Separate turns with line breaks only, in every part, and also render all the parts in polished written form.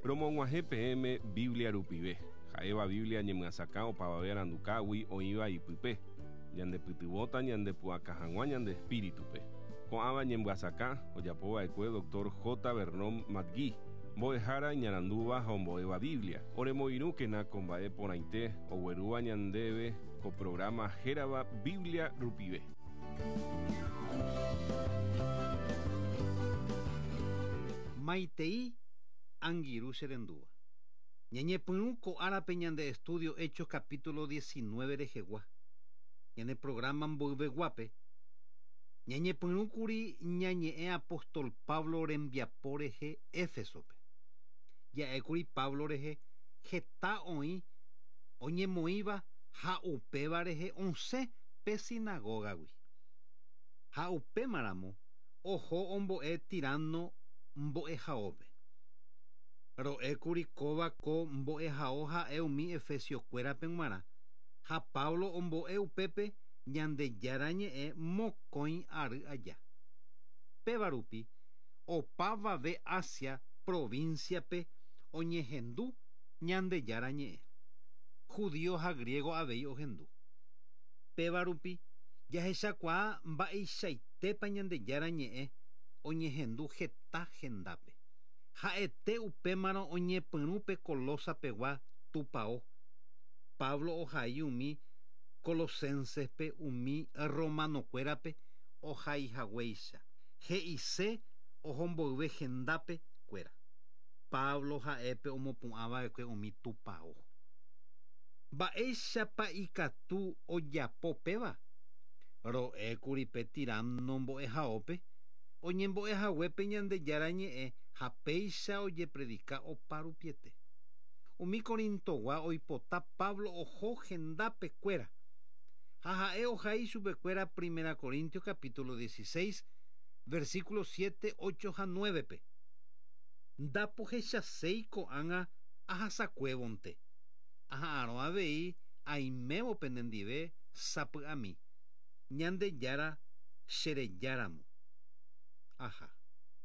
Romog̃uahẽ peẽme Biblia rupive, ha'éva Biblia ñemyasakã opavave arandukágui oĩva ipype, ñandepytyvõta ñandepu'aka hag̃ua ñande espíritupe. Ko'ãva ñemyasakã ojapova'ekue Dr. J. Vernon McGee, mbo'ehára iñarandúva ha ombo'éva Biblia. Oremoirũkena ko mba'e porãite oguerúva ñandéve ko programa hérava Biblia rupive.
Maitei angirũ che rendúva. Ñañepyrũ ko árape ñande estudio Hechos capítulo 19 rehegua. Ñane programa mboyveguápe. Ñañepyrũkuri ñañe'ẽ apóstol Pablo rembiapo rehe Éfesope. Ja'ékuri Pablo rehe heta oĩ oñemoĩva ha upéva rehe osẽ pe sinagogagui. Ha upémaramo oho ombo'e Tirano mbo'ehaópe. Ro'ékuri kóva ko mbo'ehao ha'e umi efesiokuérape g̃uarã ha Pablo ombo'e upépe Ñandejára ñe'ẽ mokõi ary aja. Péva rupi opavave Asia provincia-pe oñehendu Ñandejára ñe'ẽ. Judío ha griego avei ohendu. Péva rupi jahechakuaa mba'eichaitépa Ñandejára ñe'ẽ oñehendu heta hendápe. Ha'ete upémarõ oñepyrũ pe Colosapegua tupão. Pablo ohai umi Colosensespe umi romanokuérape ohaihaguéicha. He'ise ohomboyve hendápe kuéra. Pablo ha'épe omopu'ãva'ekue umi tupão. Mba'éichapa ikatu ojapo péva? Ro'ékuri pe Tirano mbo'ehaópe oñembo'ehaguépe Ñandejára ñe'ẽ ha péicha ojepredika oparupiete. Umi Corintogua oipota Pablo oho hendápe kuéra. Ha ha'e ohai chupekuéra Primera Corintios capítulo 16, versículo 7, 8 ha 9-pe. Ndapohechaséi ko'ág̃a ahasakuévonte. Aha'arõ avei aimévo penendive sapy'ami. Ñandejára cherejáramo. Aha.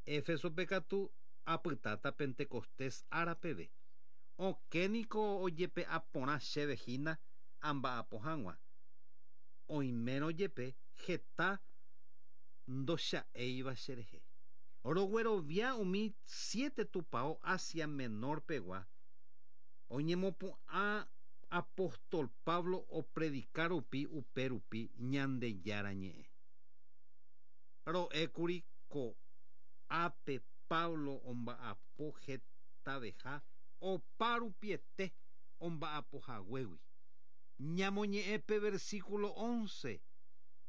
Éfesope katu apytáta Pentecostés ára peve. Okẽniko ojepe'a porã chéve hína amba'apo hag̃ua. Oimérõ jepe heta ndocha'éiva cherehe. Roguerovia umi siete tupão Asia Menor pegua oñemopu'ã apóstol Pablo opredika rupi upe rupi Ñandejára ñe'ẽ. Ro'ékuri ko'ápe Pablo omba'apo hetaveha oparupiete omba'apohaguégui. Ñamoñe'ẽ pe versículo 11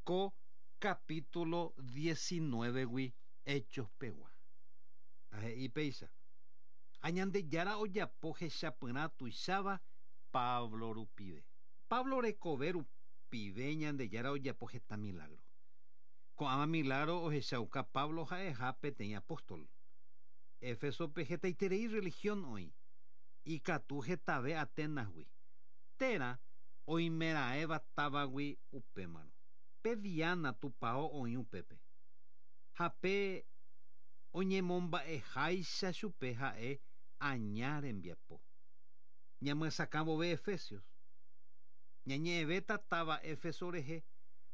ko capítulo 19-gui Hechos pegua. Ha he'i péicha. Ha Ñandejára ojapo hechapyrã tuicháva Pablo rupive. Pablo rekove rupive Ñandejára ojapo heta milagro. Ko'ãva milagro ohechauka Pablo ha'eha peteĩ apóstol. Éfesope hetaiterei religión oĩ. Ikatu hetave Atenasgui. Térã oimeraẽva távagui upémarõ. Pe Diana tupão oĩ upépe. Ha pe oñemomba'eháicha chupe ha'e aña rembiapo. Ñamyesakã vove Efesios. Ñañe'ẽvéta táva Éfeso rehe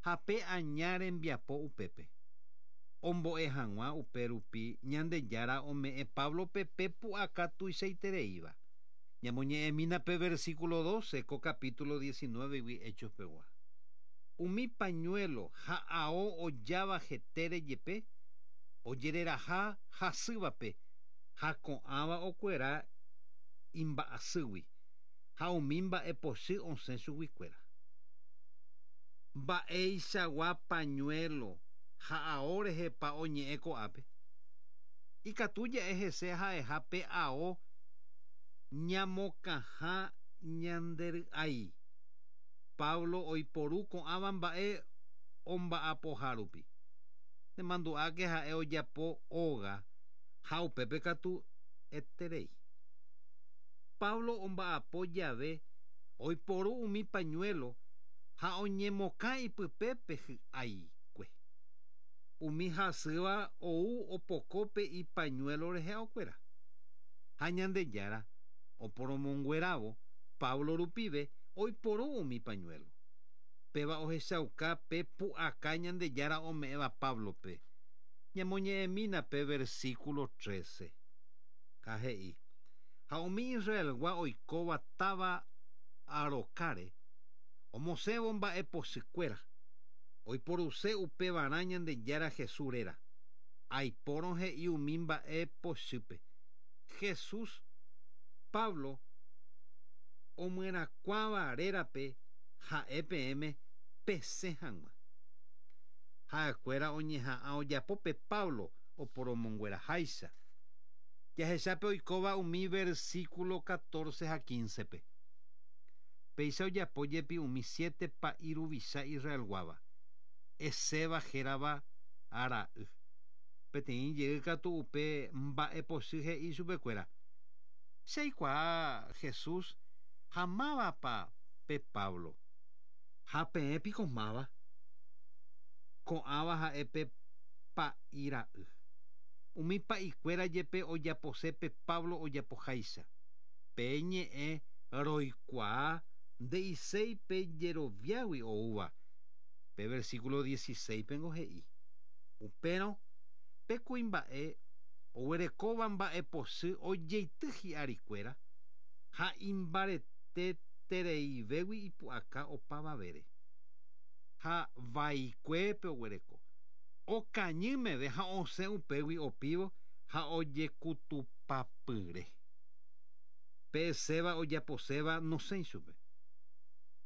ha pe aña rembiapo upépe. Ombo'e hag̃ua upe rupi Ñandejára ome'ẽ Pablope pe pu'aka tuichaitereíva. Ñamoñe'ẽmína pe versículo 12 ko capítulo 19-gui Hechos pegua. Umi pañuelo ha ao ojáva hetére jepe ojereraha hasývape ha ko'ãva okuera imba'asýgui ha umi mba'epochy osẽ chuguikuéra. Mba'eichagua pañuelo ha ao rehepa oñe'ẽ ko'ápe. Ikatu ja'e hese ha'eha pe ao ñamokãha ñandery'ái. Pablo oiporu ko'ãva mba'e omba'apoha rupi. Nemandu'áke ha'e ojapo óga ha upépe katu eterei. Pablo omba'apo jave oiporu umi pañuelo ha oñemokã ipype pe hy'aikue. Umi hasýva ou opoko pe ipañuelo rehe okuera. Ha Ñandejára oporomonguerávo Pablo rupive oiporu umi pañuelo. Péva ohechauka pe pu'aka Ñandejára ome'ẽva Páblope. Ñamoñe'ẽmína pe versículo 13. Ha he'i, Ha umi Israelgua oikóva táva Arokáre, omosẽvo mba'epochykuéra, oiporuse upevarã Ñandejára Jesús réra. Aipórõ he'i umi mba'e pochýpe, Jesús, Pablo omyerakuãva rérape ha'e peẽme pesẽ hag̃ua. Ha'ekuéra oñeha'ã ojapo pe Pablo oporomongueraháicha. Jahecha pe oikóva umi versículo 14 ha 15-pe. Péicha ojapo jepi umi siete pa'i ruvicha Israelguáva, Esceva hérava ra'y. Peteĩ jey katu upe mba'epochy he'i chupekuéra, Che aikuaa Jesús ha mávapa pe Pablo. Ha peẽ piko máva? Ko'ãva ha'e pe pa'i ra'y. Umi pa'ikuéra jepe ojapose pe Pablo ojapoháicha. Pe ñe'ẽ roikuaa nde'iséi pe jeroviágui oúva. Pe versículo 16-pengo he'i, Upérõ pe kuimba'e oguerekóva mba'epochy ojeity hi'arikuéra ha imbaretetereivégui ipu'aka opavavére. Ha vaikuépe oguereko. Okañy meve ha osẽ upégui opívo ha ojekutupapyre. Pe Esceva ojaposéva nosẽi chupe.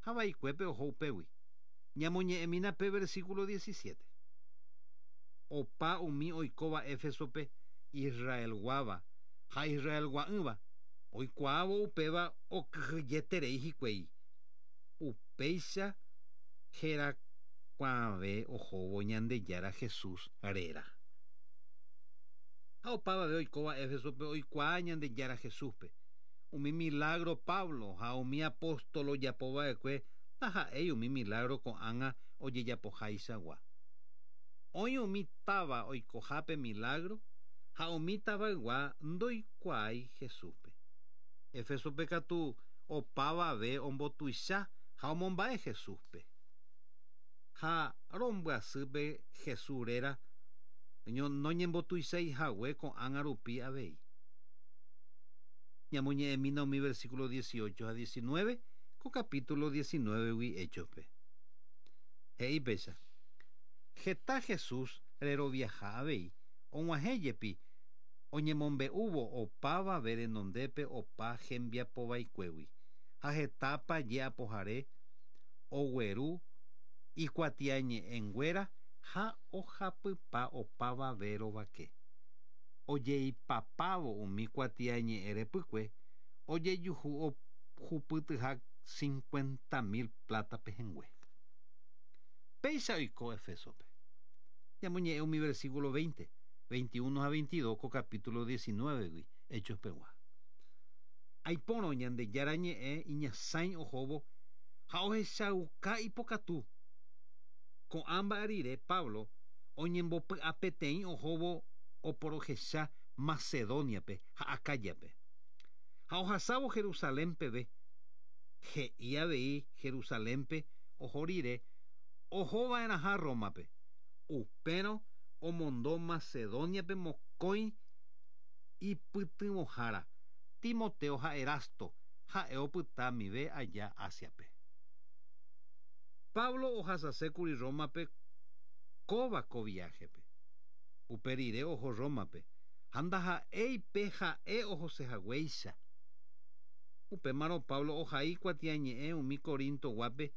Ha vaikuépe oho upégui. Ñamoñe'ẽmína pe versículo 17. Opa umi oikóva Éfesope Israelguáva ha Israelgua'ỹva, oikuaávo upéva okyhyjeterei hikuái. Upéicha herakuãve ohóvo Ñandejára Jesús réra. Ha opavave oikóva Éfesope oikuaa Ñandejára Jesúspe. Umi milagro Pablo ha umi apóstol ojapo va'ekue ndaha'éi umi milagro ko'ág̃a ojejapohaichagua. Oĩ umi táva oikohápe milagro ha umi tavaygua ndoikuaái Jesúspe. Éfesope katu opavave ombotuicha ha omomba'e Jesúspe. Ha rombyasýpe Jesús réra noñembotuichái hague ko'ág̃a rupi avei. Ñamoñe'ẽmína umi versículo 18 ha 19 ko capítulo 19-gui Héchospe. He'i péicha, Heta Jesús reroviaha avei, og̃uahẽ jepi oñemombe'úvo opavave renondépe opa hembiapovaikuégui, ha heta paje apohare ogueru ikuatiañe'ẽnguéra ha ohapypa opavave rovake. Ojeipapávo umi kuatiañe'ẽ repykue, ojejuhu ohupytyha 50.000 pláta pehẽngue. Péicha oiko Éfesope. Ñamoñe'ẽ umi versículo 20, 21 ha 22 ko capítulo 19-gui Hechos pegua. Aipórõ Ñandejára ñe'ẽ iñasãi ohóvo ha ohechauka ipokatu. Ko'ã mba'e rire Pablo oñembopy'apeteĩ ohóvo oporohecha Macedóniape ha Acáyape. Ha ohasávo Jerusalén peve, he'i avei Jerusalénpe oho rire oho va'erãha Rómape. Upérõ omondo Macedóniape mokõi ipytyvõhára, Timoteo ha Erasto, ha'e opyta mive aja Ásiape. Pablo ohasasékuri Rómape kóva ko viáhepe. Upe rire oho Rómape, ha ndaha'éi pe ha'e ohosehaguéicha. Upémarõ Pablo ohai kuatiañe'ẽ umi Corintoguápe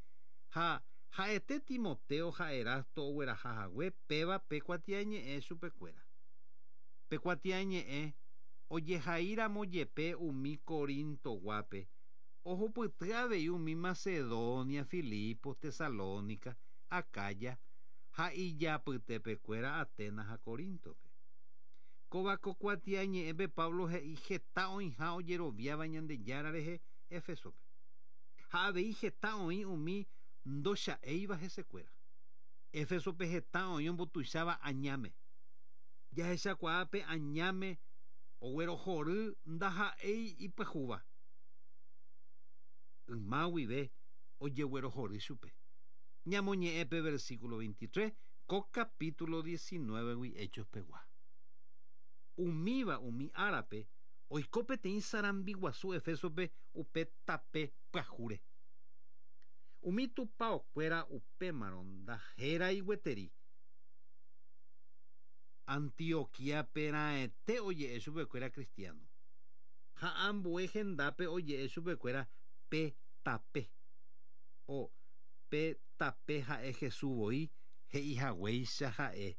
ha ha'ete Timoteo ha Erasto ogueraha hague péva pe kuatiañe'ẽ chupekuéra. Pe kuatiañe'ẽ ojehaíramo jepe umi Corintoguápe, ohupyty avei umi Macedonia, Filipos, Tesalónica, Acaya ha ijapytepekuéra Atenas ha Coríntope. Kóva ko kuatiañe'ẽpe Pablo he'i heta oĩha ojeroviáva Ñandejára rehe Éfesope. Ha avei heta oĩ umi ndocha'éiva hesekuéra. Éfesope heta oĩ ombotuicháva añáme. Jahechakuaa pe añáme Oguerohory ndaha'éi ipyahúva. Yma guive ojeguerohory chupe. Ñamoñe'ẽ pe versículo 23 ko capítulo 19-gui Hechos pegua. Umíva umi árape oiko peteĩ sarambi guasu Efésope upe tape pyahúre. Umi tupaokuéra upémarõ ndahérai gueteri. Antioquíape raẽte oje'e chupekuéra cristiano. Ha ambue hendápe oje'e chupekuéra pe tape. O, pe tape ha'e Jesús voi he'ihaguéicha ha'e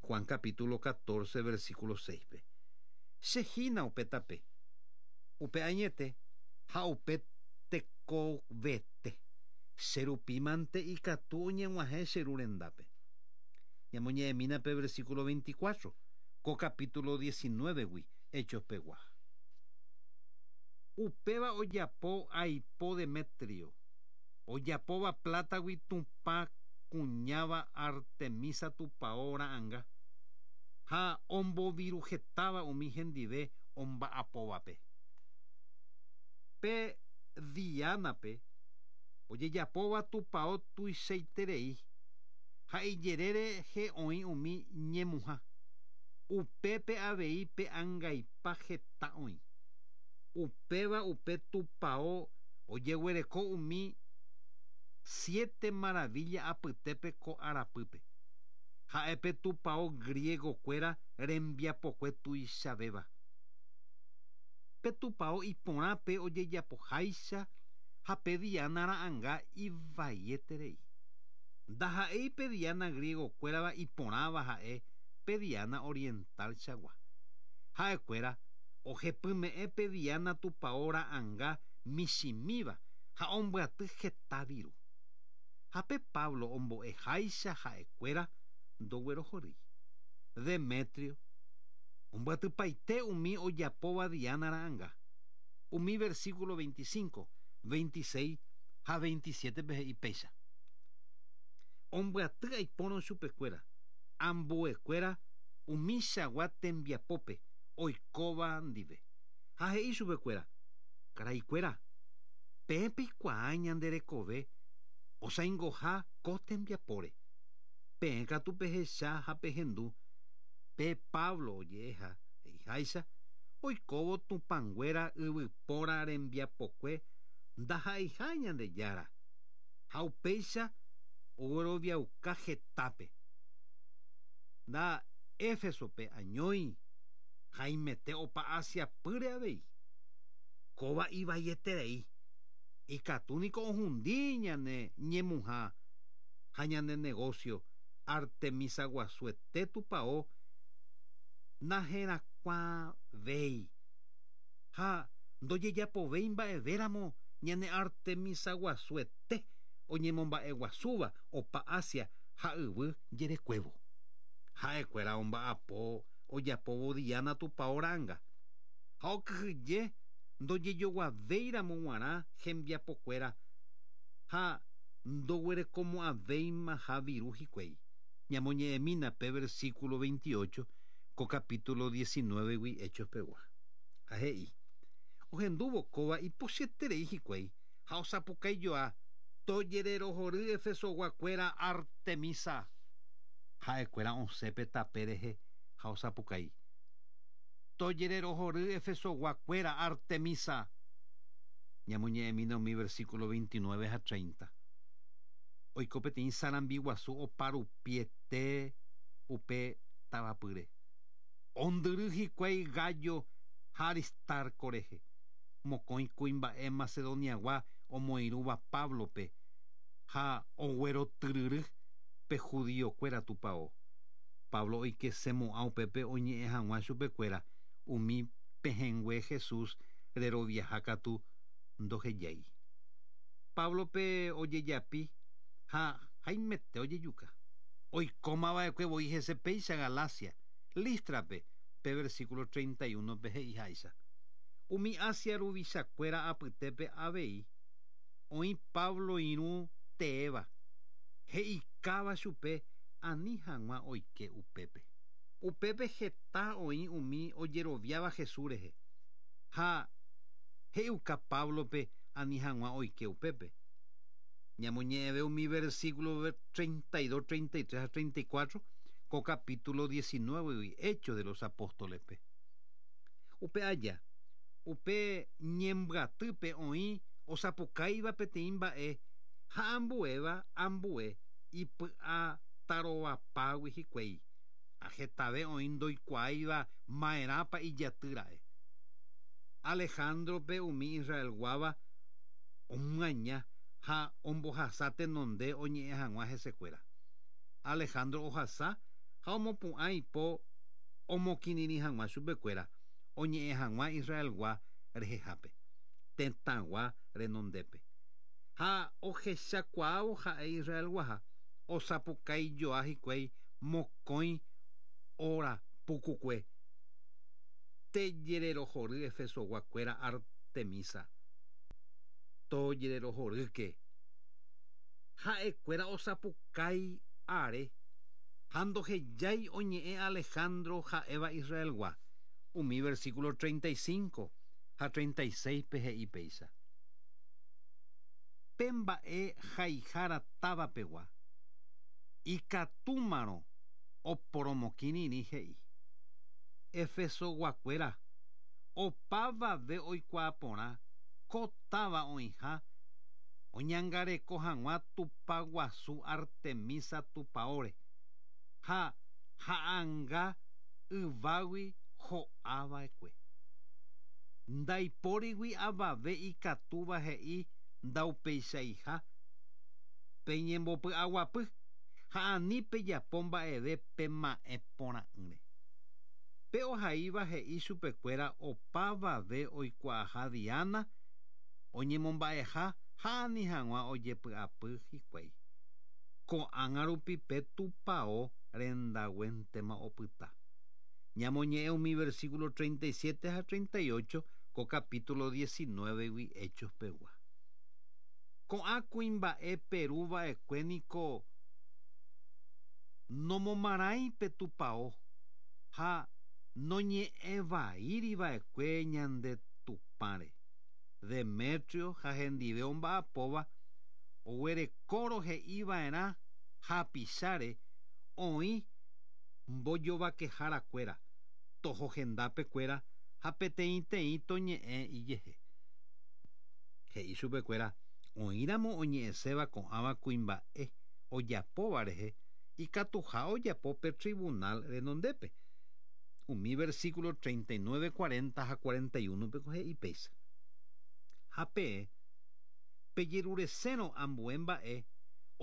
Juan capítulo 14 versículo 6-pe. Che hína upe tape, upe añete ha upe tekovete. Che rupi mante ikatu oñeg̃uahẽ che Ru rendápe. Ñamoñe'ẽmína pe versículo 24, ko capítulo 19-gui Hechos pegua. Upéva ojapo aipo Demetrio, ojapóva plátagui Tupã kuñáva Artemisa tupao ra'ãnga, ha omboviruhetáva umi hendive omba'apóvape. Pe Diánape ojejapóva tupao tuichaiterei ha ijere rehe oĩ umi ñemuha, upépe avei pe angaipa heta oĩ. Upéva upe tupao ojeguereko umi siete maravilla apytépe ko arapýpe. Ha'e pe tupao griego-kuéra rembiapokue tuichavéva. Pe tupao iporã pe ojejapoháicha ha pe Diana ra'ãnga ivaieterei. Ndaha'éi pe Diana griego-kuérava iporãva ha'e pe Diana oriental-chagua. Ha'ekuéra ohepyme'ẽ pe Diana tupao ra'ãnga michĩmíva ha ombyaty heta viru. Ha pe Pablo ombo'eháicha ha'ekuéra ndoguerohorýi. Demetrio ombyatypaite umi ojapóva Diana ra'ãnga. Umi versículo 25, 26 ha 27-pe he'i péicha. Ombyaty aipórõ chupekuéra, ambuekuéra umichagua tembiapópe oikóva ndive. Ha he'i chupekuéra, Karaikuéra, peẽ peikuaa ñande rekove osaingoha ko tembiapóre. Peẽ katu pehecha ha pehendu pe Pablo oje'eha he'iháicha oikóvo tupãnguéra yvypóra rembiapokue ndaha'eiha Ñandejára, ha upéicha ogueroviauka hetápe. Nda Éfesope añói haimete opa Asia pýre avei. Kóva ivaieterei, ikatu niko ohundi ñane ñemuha ha ñane negocio Artemisa guasuete tupao naherakuãvéi ha ndojejapovéi mba'evéramo ñane Artemisa guasuete oñemomba'eguasúva opa Asia ha yvy jerekuévo. Ha'ekuéra omba'apo ojapóvo Diana tupao ra'anga, ha okyhyje ndojejoguavéiramo g̃uarã hembiapokuéra ha ndoguerekomo'ãvéimaha viru hikuái. Ñamoñe'ẽmína pe versículo 28 ko capítulo 19-gui Hechos pegua. Ha he'i, Ohendúvo kóva ipochyeterei hikuái ha osapukaijoa, Tojererohory Efesoguakuéra Artemisa! Ha'ekuéra osẽ pe tape rehe ha osapukái, Tojererohory Efesoguakuéra Artemisa! Ñamoñe'ẽmína umi versículo 29 ha 30. Oiko peteĩ sarambi guasu oparupiete upe tavapýre. Ondyry hikuái Gayo ha Aristarco rehe, mokõi kuimba'e Macedoniagua omoirũva Páblope ha oguerotyryry pe judíokuéra tupao. Pablo oikesemo'ã upépe oñe'ẽ hag̃ua chupekuéra umi pehẽngue Jesús reroviaha katu ndohejái. Páblope ojejapi ha haimete ojejuka. Oikómava'ekue voi hese péicha Galacia, Lístrape, pe versículo 31-pe he'iháicha. Umi Asia ruvichakuéra apytépe avei oĩ Pablo irũ teéva, he'ikáva chupe ani hag̃ua oike upépe. Upépe heta oĩ umi ojeroviáva Jesús rehe. Ha he'iuka Páblope ani hag̃ua oike upépe. Ñamoñe'ẽve umi versículo 32, 33 ha 34 ko capítulo 19-gui Hechos de los Apóstoles-pe. Upe aja, upe ñembyatýpe oĩ osapukáiva peteĩ mba'e ha ambuéva ambue ipy'atarovapágui hikuái, ha hetave oĩ ndoikuaáiva ma'erãpa ijatýra'e. Alejandro-pe umi Israelguáva omyaña ha ombohasa tenonde oñe'ẽ hag̃ua hesekuéra. Alejandro ohasa ha omopu'ã ipo omokirirĩ hag̃ua chupekuéra oñe'ẽ hag̃ua Israelgua rehehápe, tetãgua renondépe. Ha ohechakuaávo ha'e Israelguaha, osapukaijoa hikuái mokõi óra pukukue Tejererohory Efesogua kuéra Artemisa, tojererohorýke. Ha'e kuéra osapukái are ha ndohejái oñe'ẽ Alejandro ha'éva Israelgua, umi versículo 35 ha 36-pe he'i péicha. Pe mba'e haihára táva pegua, ikatúmarõ oporomokirirĩ he'i. Efesoguakuéra, opavave oikuaa porã ko táva oĩha oñangareko hag̃ua Tupã guasu Artemisa tupaóre, ha ha'anga yvágui ho'a va'ekue. Ndaipórigui avave ikatúva he'i ndaupeichaiha peñembopy'aguapy ha ani pejapo mba'eve pema'ẽ porã'ỹre. Pe ohaíva he'i chupekuéra opavave oikuaaha Diana oñemomba'eha ha ani hag̃ua ojepy'apy hikuái. Ko'ág̃a rupi pe tupao rendaguéntema opyta. Ñamoñe'ẽ umi versículo 37 ha 38 ko capítulo 19-gui Hechos pegua. Ko'ã kuimba'e peru va'ekue niko nomomarãi pe tupao ha noñe'ẽvaíri va'ekue ñande Tupãre. Demetrio ha hendive omba'apóva oguerekórõ he'i va'erã hapicháre oĩ mbojovakehára kuéra, toho hendápe kuéra ha peteĩteĩ toñe'ẽ ijehe. He'i chupekuéra, oĩramo oñe'ẽséva ko'ãva kuimba'e ojapóva rehe ikatuha ojapo pe trivunál renondépe. Umi versíkulo 39, 40 ha 41-pe ko he'i péicha, Ha peẽ pejeruresérõ ambue mba'e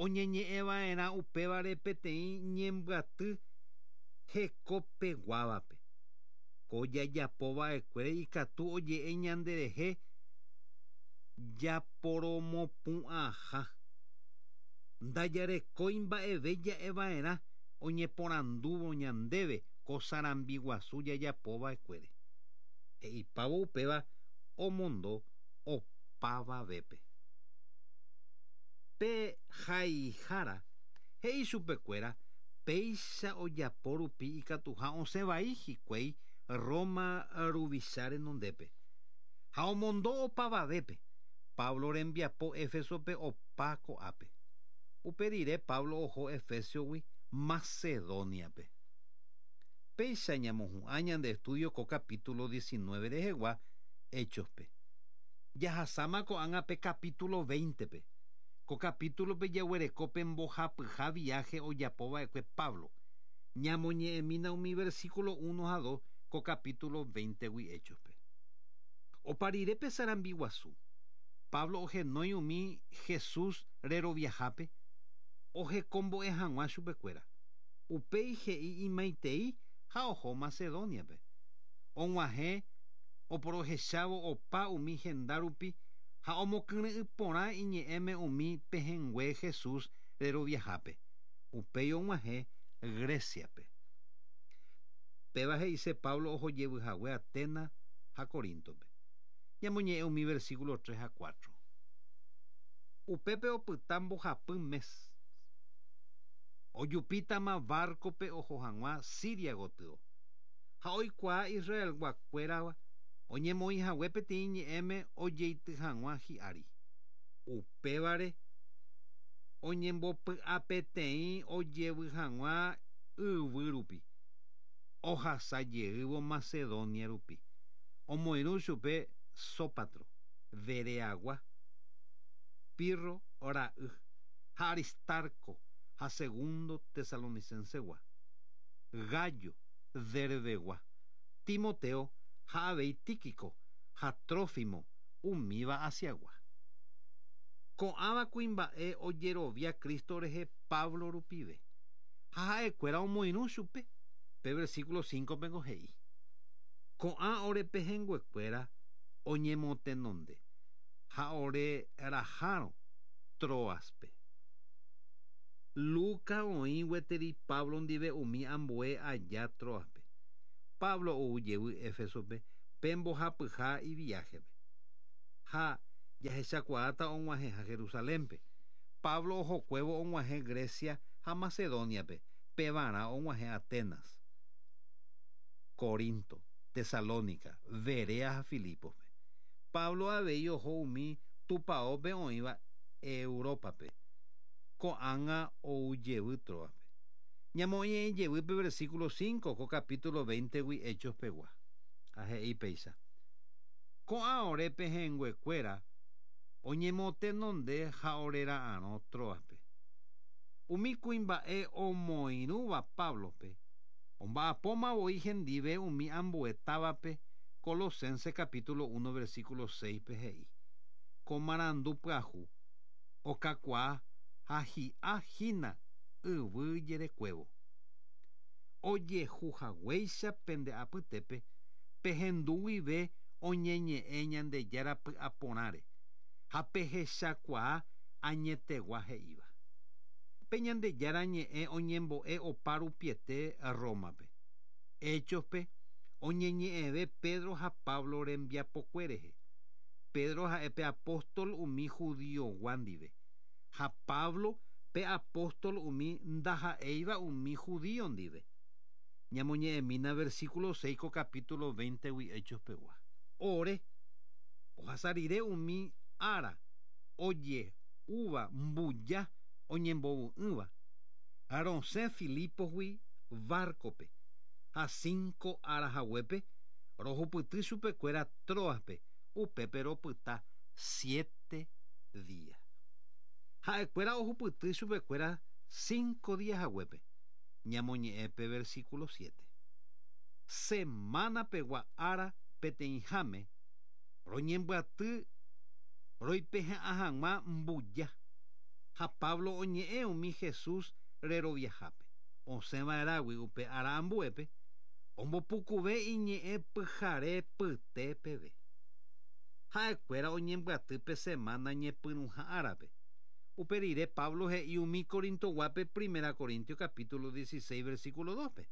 oñeñe'ẽ va'erã upévare peteĩ ñembyaty hekopeguávape. Ko jajapo va'ekuére ikatu oje'e ñanderehe japoromopu'ãha. Ndajarekói mba'eve ja'e va'erã oñeporandúvo ñandéve ko sarambi guasu jajapo va'ekuére. He'ipávo upéva omondo opavavépe. Pe haihára he'i chupekuéra péicha ojapo rupi ikatuha osẽ vai hikuái Roma ruvicha renondépe. Ha omondo opavavépe, Pablo rembiapo Éfesope opa ko'ápe. Upe rire Pablo oho Efésiogui Macedóniape. Péicha ñamohu'ã ñande estudio ko capítulo 19 rehegua Héchospe. Jahasáma ko'ág̃a pe capítulo 20-pe. Ko capítulope jaguereko pe mbohapyha viaje ojapo va'ekue Pablo. Ñamoñe'ẽmína umi versículo uno ha dos ko capítulo 20-gui Héchospe. Opa rire pe sarambi guasu, Pablo ohenói umi Jesús reroviahápe ohekombo'e hag̃ua chupekuéra. Upéi he'i imaitei ha oho Macedóniape. Og̃uahẽ oporohechávo opa umi henda rupi ha omokyre'ỹ porã iñe'ẽme umi pehẽngue Jesús reroviahápe. Upéi og̃uahẽ Gréciape. Péva he'ise Pablo oho jevy hague Atenas ha Coríntope. Ñamoñe'ẽ umi versículo tres ha cuatro. Upépe opyta mbohapy mes. Ojupítama barcope oho hag̃ua Siria gotyo. Ha oikuaa Israelguakuérava oñemoĩhague peteĩ ñe'ẽme ojeity hag̃ua hi'ári. Upévare oñembopy'apeteĩ ojevy hag̃ua yvy rupi, ohasajeývo Macedonia rupi. Omoirũ chupe Sópatro, Bereagua, Pirro ra'y ha Aristarco ha Segundo Tesalonicense-gua, Gayo, Derbegua, Timoteo ha avei Tíquico ha Trófimo umíva Asiagua. Ko'ãva kuimba'e ojerovia Cristo rehe Pablo rupive, ha ha'ekuéra omoirũ chupe, pe versículo 5-pe he'i: Ko'ã ore pehẽnguekuéra oñemotenonde ha ore rahárõ Troaspe. Lucas oĩ gueteri Pablo ndive umi ambue aja Troaspe. Pablo ou jevy Éfesope pe mbohapyha iviájepe. Ha jahechakuaáta og̃uahẽha Jerusalénpe. Pablo ohokuévo og̃uahẽ Grecia ha Macedoniape, pevarã og̃uahẽ Atenas, Corinto, Tesalónica, Berea ha Filipospe. Pablo avei oho umi tupaópe oĩva Európape, ko'ág̃a ou jevy Troaspe. Ñamoñe'ẽ jevy pe versículo 5 ko capítulo 20-gui Hechos pegua. Ha he'i péicha: Ko'ã ore pehẽnguekuéra oñemotenonde ha orera'arõ Troaspe. Umi kuimba'e omoirũva Páblope omba'apóma voi hendive umi ambue távape Colosenses capítulo 1 versículo 6-pe he'i: Ko marandu pyahu okakuaa ha hi'a hína yvy jerekuévo. Ojehuhaguéicha pende apytépe pehendu guive oñeñe'ẽ Ñandejára py'aporãre ha pehechakuaa añetegua he'íva. Pe Ñandejára ñe'ẽ oñembo'e opa rupiete Rómape. Héchospe oñeñe'ẽve Pedro ha Pablo rembiapokue rehe. Pedro ha'e pe apóstol umi judiogua ndive, ha Pablo pe apóstol umi ndaha'éiva umi judío ndive. Ñamoñe'ẽmína versículo 6 ko capítulo 20-gui Hechos pegua. Ore, ohasa rire umi ára oje'úva mbuja oñembovu'ỹva, rosẽ Filiposgui barcope, ha 5 ára haguépe rohupyty chupekuéra Troaspe, upépe ropyta 7 días. Ha'ekuéra ohupyty chupekuéra 5 días haguépe. Ñamoñe'ẽ pe versículo 7. Semana pegua ára peteĩháme roñembyaty roipehe'ã hag̃ua mbuja ha Pablo oñe'ẽ umi Jesús reroviahápe. Osẽva'erãgui upe ára ambuépe ombopukuve iñe'ẽ pyhare pyte peve. Ha'ekuéra oñembyaty pe semana ñepyrũha árape. Upe rire Pablo he'i umi Corintoguápe Primera Corintio capítulo 16 versículo 2-pe.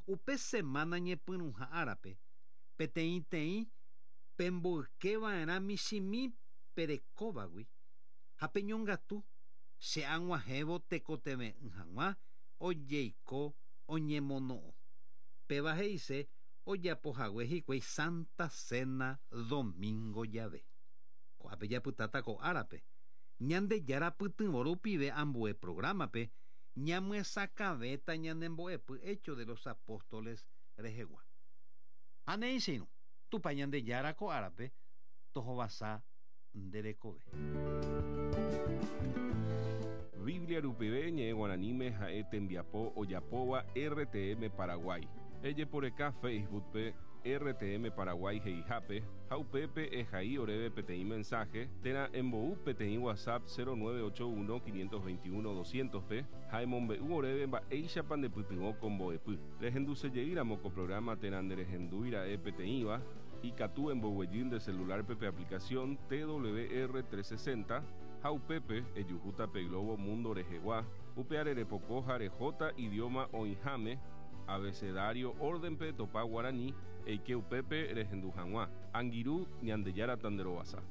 Upe semana ñepyrũha árape peteĩteĩ pemboykeva'erã michĩmi perekóvagui ha peñongatu che ag̃uahẽvo tekotevẽ'ỹ hag̃ua ojeiko oñemono'õ. Péva he'ise ojapohague hikuái Santa Cena domingo jave. Ko'ápe japytáta ko árape. Ñandejára pytyvõ rupive ambue programape ñamyesakãvéta ñanembo'epy Hechos de los Apóstoles rehegua. Ha néi che irũ, Tupã Ñandejára ko árape tohovasa nde rekove.
Biblia rupive ñe'ẽ guaraníme ha'e tembiapo ojapóva RTM Paraguay. Ejeporeka Facebookpe RTM Paraguay he'ihápe ha upépe ehai oréve peteĩ mensaje térã embou peteĩ WhatsApp 0981 521 200-pe ha emombe'u oréve mba'éichapa ndepytyvõ ko mbo'epy. Rehendusejeýramo ko programa térã nderehendúira'e peteĩva, ikatu emboguejy nde celularpe pe aplicación TWR 360 ha upépe ejuhúta pe globo mundo rehegua, upe arerepoko ha rehóta idioma oĩháme, abecedario órdenpe topa guarani, eike upépe rehendu hag̃ua. Angirũ Ñandejára tanderovasa.